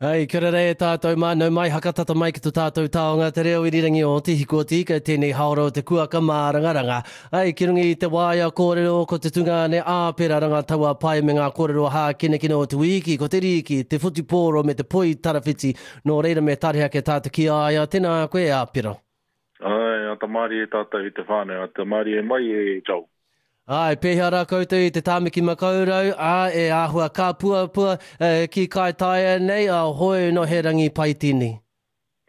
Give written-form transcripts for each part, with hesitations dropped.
Hei, kia ora rei e tātou mā, nau mai hakatata mai ki to tātou taonga te reo irirangi o Te Hiku o Te Ika, tēnei haora o te kuaka mārangaranga. Ai, ki runga i te waea kōrero ko te tungāne Āpera Rangataua Pai me ngā kōrero hākinakina o te wīki, ko te rīki, te whutupōro me te poi tarawhiti, nō reira me tare ake tātou ki a ia, tēnā koe Āpera. Āe, ata mārie tātou i te whānau, ata mārie mai e Joel. Āe, pēhea rā koutou i te Tāmaki Makaurau, ā, e āhua kāpuapua ki Kaitaia nei, ā, hoi nō he rangi pai tēnei.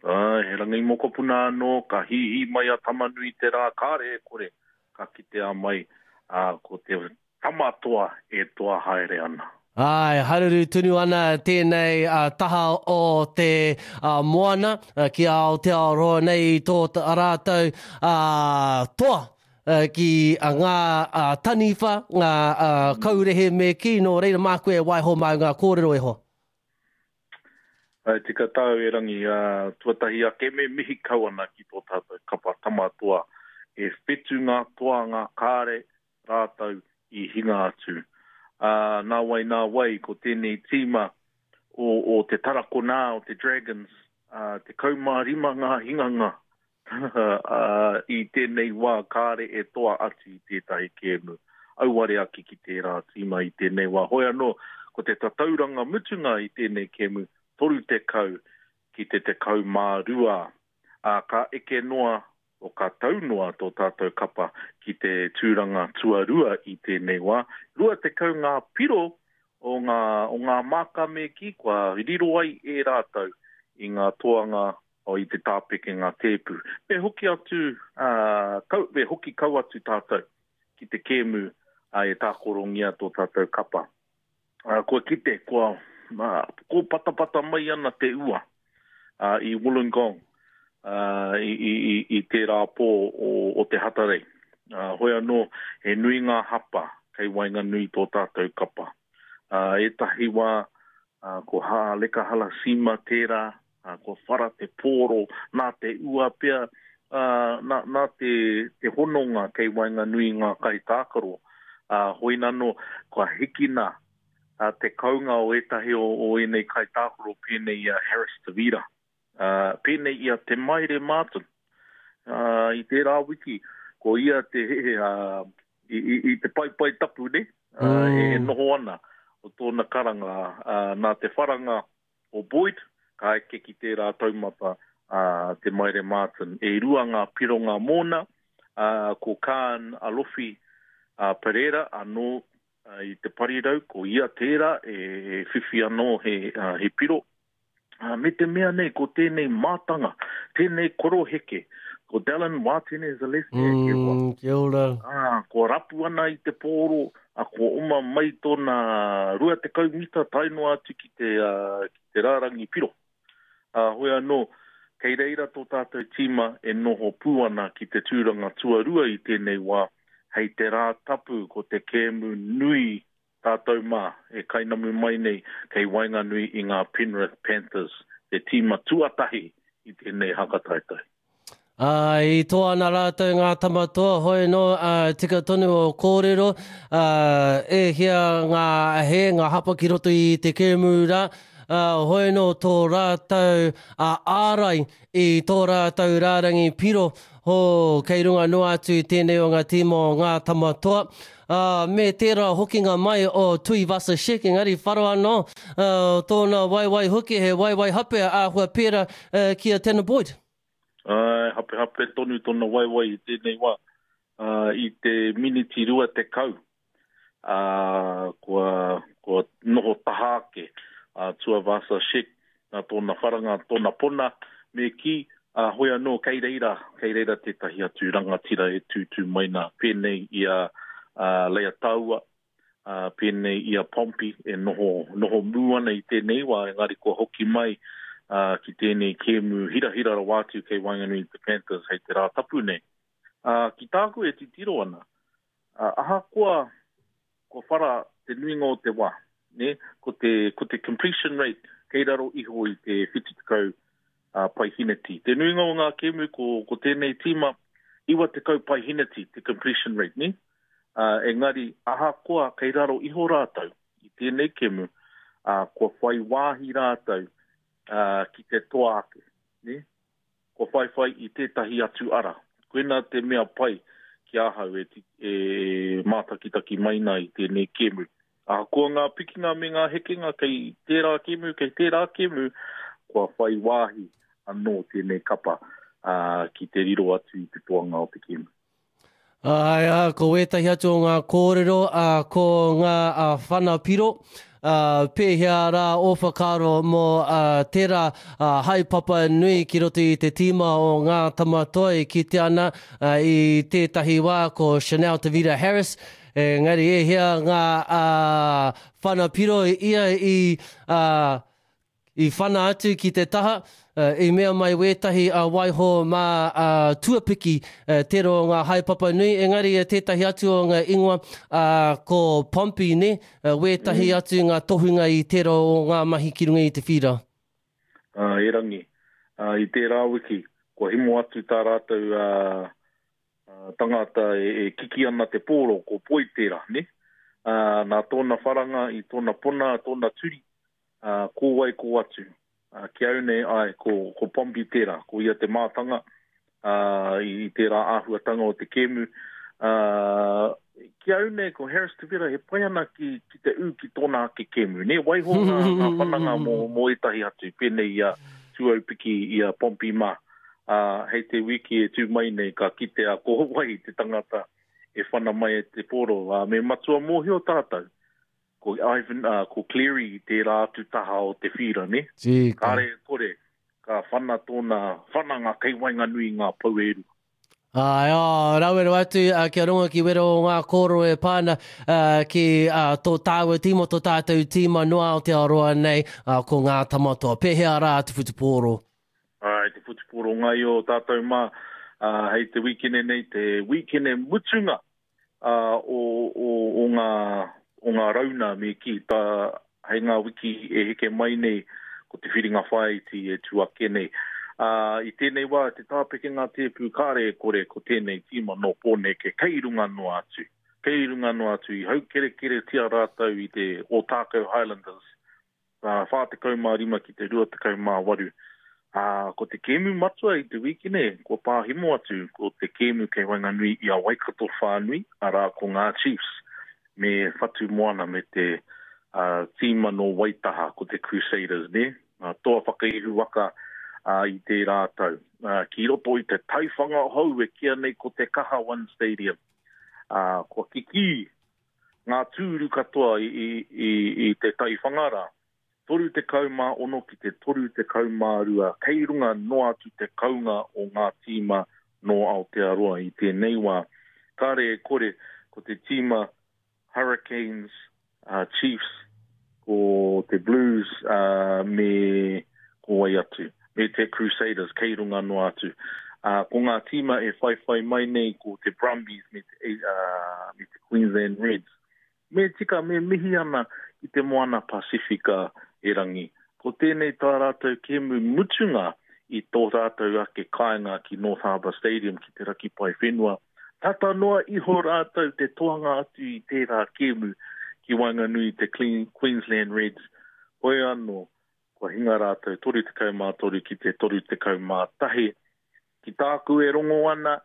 Āe, he rangi mokopuna anō, ka hīhī mai a Tamanui te rā, kāre e kore, ka kitea mai, ā, ko te tama toa e toa haere ana. Āe, haruru tonu ana tēnei taha o te moana ki Aotearoa nei i tō rātou toa ki ngā taniwha, ngā kaurehe me kī, nō reira māku e waiho māu ngā kōrero e hoa. Āe, tika tāu e Rangi, ā, tuatahi ake me mihi kau ana ki tō tātou kapa Tama Toa e whetu ngā toa ngā kāre rātou i hinga atu. Ā, nā wai, nā wai, ko tēnei tīma o, o te Tarakonā, o te Dragons, ā, 15 ngā hinganga, ā, i tēnei wā kāre e toa atu i tētahi kēmu. Auare ake ki tērā tīma i tēnei wā. Hoi anō, ko te tatauranga mutunga i tēnei kēmu, 30 ki te 12, ā, ka eke noa O ka tau noa tō tātou kapa ki te tūranga tuarua i tēnei wā. 20 ngā piro o ngā, o ngā māka me kī kua riro ai e rātou i ngā toanga o i te tāpekenga tēpu. Me hoki atu, ā, kau, me hoki kau atu tātou ki te kēmu ā, e tākorongia tō tātou kapa. Ā, kua kite, kua, ā, kōpatapata mai ana te ua, ā, i Wollongong, ā, i, i, i, i tērā pō o, o te Hatarei. Ā, hoi anō, he nui ngā hapa kei waenganui tō tātou kapa. Ā, ētahi wā, ā, ko Haaleka Halasima tērā, ā, kua whara te pōro, nā te ua pea, ā, nā, nā te, te hononga kei waenganui i ngā kaitākaro, ā, hoinano, kua hikina ā, te kounga o ētahi o, o ēnei kaitākaro pēnei i a Harris Tavita, ā, pēnei i a Te Maire Martin. Ā, i tērā wiki, ko ia te, ā, i, i, i te paepae tapu, nē, ā, e, e noho ana o tōna karanga, ā, nā te wharanga o Boyd, ka eke ki tērā taumata a Te Maire Martin. E rua ngā pironga mōna, ā, ko Kaan Alofi Pereira anō i te parirau, ko ia tērā e whiwhi anō he, he piro. Ā, me te mea nei, ko tēnei mātanga, tēnei koroheke, ko Dallin Wātene Zalesniak e hoa. Mm, kia ora. Ā, kua rapu ana i te pōro, ā, kua oma mai tōna 20 mita tae noa atu ki te, ā, ki te rārangi piro. Ā, hoi anō, kei reira tō tātou tīma e noho pū ana ki te tūranga tuarua i tēnei wā, hei te Rā Tapu ko te kēmu nui tātou mā e kainamu mai nei kei waenganui i ngā Penrith Panthers, te tīma tuatahi i tēnei hakataetae. Ā, i toa ana rātou ngā tama toa, hoi anō, ā, tika tonu ō kōrero, ā, e hia ngā hē, ngā hapa ki roto i te kēmu rā, ā, hoi anō tō rātou, ā, ārai i tō rātou rārangi piro, hō, kei runga noa atu i tēnei o ngā tīma o ngā tama toa, ā, me tērā hokinga mai o Tuivasa-Sheck, engari wharo anō, ā, tōna waewae hoki, he waewae hape āhua pērā, ā, ki a Tanner Boyd. Āe, hapehape tonu tōna waewae i tēnei wā. Ā, i te miniti 20, ā, kua, kua noho taha ake a Tuavasa Sheck nā tōna wharanga, tōna pona, me kī, ā, hoi anō kei reira, kei reira tētahi atu rangatira e tūtū mai nā, pēnei i a, a Leiataua, ā, pēnei i a Pompey e noho, noho mū ana i tēnei wā, engari kua hoki mai, ā, ki tēnei kēmu hirahira rawa atu kei waenganui i te Panthers hei te Rātapu nei. Ā, ki tāku e titiro ana, ā, ahakoa kua whara te nuinga o te wā, nē, ko te, ko te completion rate kei raro iho i te 70 ā, paehineti. Te nuinga o ngā kēmu ko, ko tēnei tīma, 90 paehineti te completion rate, nē? Ā, engari, ahakoa kei raro iho rātou i tēnei kemu, ā, kua whai wāhi rātou ki te toa ake, nē? Kua whaiwhai i tētahi atu ara. Koina te mea pai ki ahau e, e mātakitaki mai nā i tēnei kēmu. Ahakoa ngā pikinga me ngā hekenga kei tērā kēmu, kei tērā kēmu, kua whai wāhi anō tēnei kapa ki te riro atu i te toanga o te kēmu. Āe, ā, ko wētahi atu o ngā kōrero, ā, ko ngā ā, whana piro, ā, pēhea rā ō whakaaro mō ā, tērā ā, haepapa nui ki roto i te tīma o Ngā Tama Toa e kitea ana ā, i tētahi wā ko Chanel Tavita Harris, engari e hia ngā ā, whana piro ia i ā, I whana atu ki te taha, i mea mai wētahi a waiho mā a Tuapiki tērā o ngā haepapa nui, engari tētahi atu o ngā ingoa ko Pompey nē, wētahi atu ngā tohunga i tērā o ngā mahi ki runga i te whīra. Erangi, i tērā wiki, kua himo atu tā rātou tangata e kiki ana te pōro, ko Poi tērā, nē? Nā tōna wharanga i tōna pona, tōna turi, ā, ko wai ko atu. Ā, ki au nei, āe, ko, ko Pompey tērā, ko ia te mātanga, ā, i, i tērā āhuatanga o te kēmu. Ā, ki au nei, ko Harris Te Wera, he pai ana ki, ki te ū ki tōna ake kēmu, nē? Waiho ngā, ngā whananga mō, mō ētahi atu, pēnei i a Tuaupiki, i a Pompey mā. Ā, hei te wiki e tū mai nei, ka kitea ko wai te tangata e whana mai e te pōro. Ā, me matua mōhio tātou, Ko Ivan, uh, ko Cleary i tērā atu taha o te whīra, ne? Tika. Kāre e kore, ka whana tōna whananga kei waenganui i ngā pou e rua. Āe, oh, rawe rawa atu uh, kia rongo ki wera o ngā kōrero e pā ana uh, ki uh, tō tāua tīma, tō tātou tīma no Aotearoa nei, uh, ko ngā tamatoa. Pēhea rā te whutupōro? Āe, te whutupōro ngaio tātou mā, uh, hei te wīkene nei, te wīkene mutunga ā, o, o, o ngā, o ngā rauna me kī, tā, hei ngā wiki e heke mai nei, ko te whiringa whāiti e tū ake nei. Ā, i tēnei wā, te tāpeke ngā tēpū kāre e kore ko tēnei tīma nō Pōneke kei runga noa atu, kei runga noa atu i haukerekeretia rātou i te Ōtākou Highlanders 45 ki te 28. Ā, ko te kēmu matua i te wīkene kua pāhemo atu ko te kēmu kei waenganui i a Waikato whānui, arā ko ngā Chiefs me Whatumoana me te tīma nō Waitaha ko te Crusaders, nē, ngā toa whakaihu waka i tērā tau. Ki roto i te taiwhanga hou e kīa nei ko Te Kaha One Stadium, ā, kua kikī ngā tūru katoa i te taiwhanga rā, 36 ki te 32, kei runga noa atu te kounga o ngā tīma nō Aotearoa i tēnei wā. Kāre e kore, ko te tīma Hurricanes, Chiefs, ko te Blues me ko wai atu, me te Crusaders kei runga noa atu. Ā, ko ngā tīma e whaiwhai mai nei ko te Brumbies me te, ā, me te Queensland Reds. Me tika, me mihi ana ki te Moana Pasifika erangi. Ko tēnei tā rātou kēmu mutunga i tō rātou ake kāinga ki North Harbour Stadium ki te raki pae whenua. Tata noa iho rātou te toanga atu i tērā kēmu ki waenganui i te Queensland Reds. Hoi anō, Kua hinga rātou 33 ki te 31. Ki tāku e rongo ana,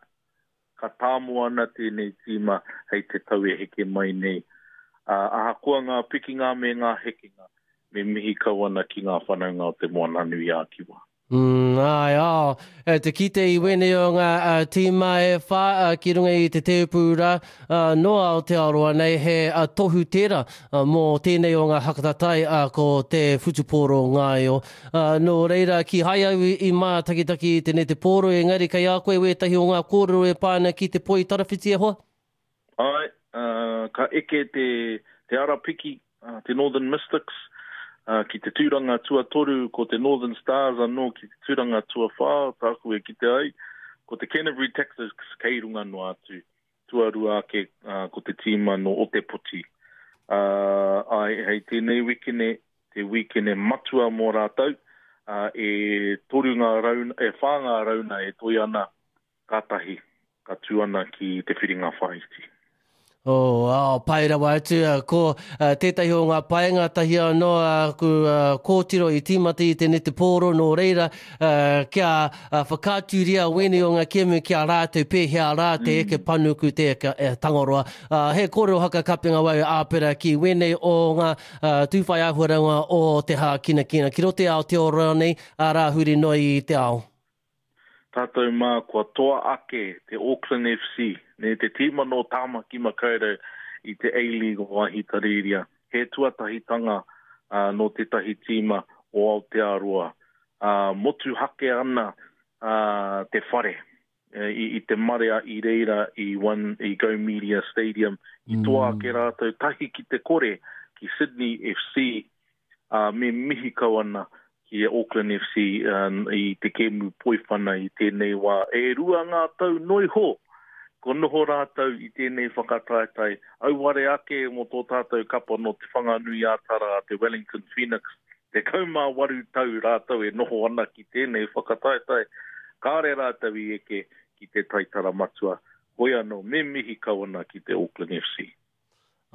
ka tāmo ana tēnei tīma hei te tau e heke mai nei. Ā, ahakoa ngā pikinga me ngā hekenga, me mihi kau ana ki ngā whanaunga o Te Moananui-a-Kiwa. Mm, āe, ā, e te kite i wēnei o ngā tīma e whā ki runga i te tēpū rā, nō Aotearoa nei, he tohu tērā mō tēnei o ngā hakatatai ko te whutupōro ngaio. Nō reira, kīhai au i mātakitaki i te netepōro, engari kei a koe wētahi o ngā kōrero e pā ana ki te poi tarawhiti e hoa? Āe, ka eke te, te arapiki, te Northern Mystics, ki te tūranga tuatoru, ko te Northern Stars anō ki te tūranga tuawhā, tāku e kite ai, ko te Canterbury Tactics kei runga noa atu, tuarua ake ko te tīma nō Otepoti. Āe, hei tēnei wikene, te wīkene matua mō rātou, e toru ngā rauna, e whā ngā rauna e toe ana Kātahi, ka tū ana ki te whiringa whāiti. Oh, oh, pai rawa atu, ko tētahi o ngā painga tahi anō aku kōtiro i tīmata i te netepōro, nō reira, kia whakaaturia wēnei o ngā kēmu ki a rātou pēhea rā te eke panuku, te eke Tangaroa. He kōrero hakakapenga wau āpera ki wēnei o ngā tūwhai āhuaranga o te hākinakina ki roto i Aotearoa nei, arā huri noa i te ao. Tātou mā kua toa ake te Auckland FC, nē, te tīma nō Tāmaki Makaurau i te A-League o Ahitereiria. He tuatahitanga nō tētahi tīma o Aotearoa. Motuhake ana te whare i te marea i reira i One, i Go Media Stadium. I toa ake rātou tahi ki te kore ki Sydney FC, ā, me mihi kau ana ki a Auckland FC i te kēmu poiwhana i tēnei wā. E rua ngā tau noiho kua noho rātou i tēnei whakataetae, auare ake mō tō tātou kapa nō Te Whanganui-ā-Tara a te Wellington Phoenix. 18 tau rātou e noho ana ki tēnei whakataetae, kāre rātou i eke ki te taitara matua. Hoi anō, me mihi kau ana ki te Auckland FC.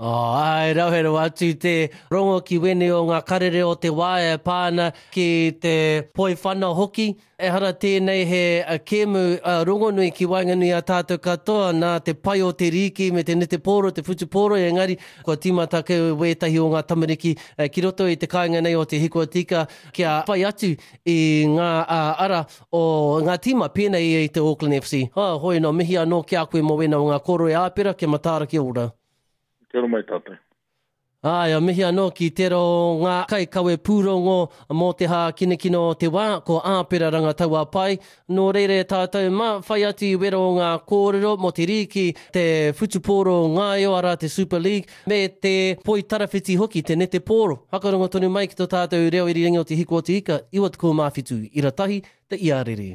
Oh, āe, rawe rawa atu te rongo ki wēnei o ngā karere o te wā e pā ana ki te poiwhana hoki. Ehara tēnei he kēmu rongonui ki waenganui i a tātou katoa nā te pai o te rīki me te netepōro, te whutupōro, engari kua tīmata kē wētahi o ngā tamariki ki roto i te kāinga nei o Te Hikuatika kia whai atu i ngā ara o ngā tīma pēnei i te Auckland FC. Oh, hoi nō, mihi anō ki a koe mō wēnā o ngā kōrero e Āpera, kia mataara kia ora. Kia ora mai tātou. Āe, mihi anō ki tērā o ngā kaikawe pūrongo mō te hākinakina o te wā, ko Āpera Rangatauapai. Nō reira e tātou mā, whai atu i wera o ngā kōrero mō te rīki, te whutupōro ngaio, arā te Super League, me te poi tarawhiti hoki, te netepōro. Whakarongo tonu mai ki tō tātou reo irirangi o Te Hiku o Te Ika, 97 ira tahi, te iarere.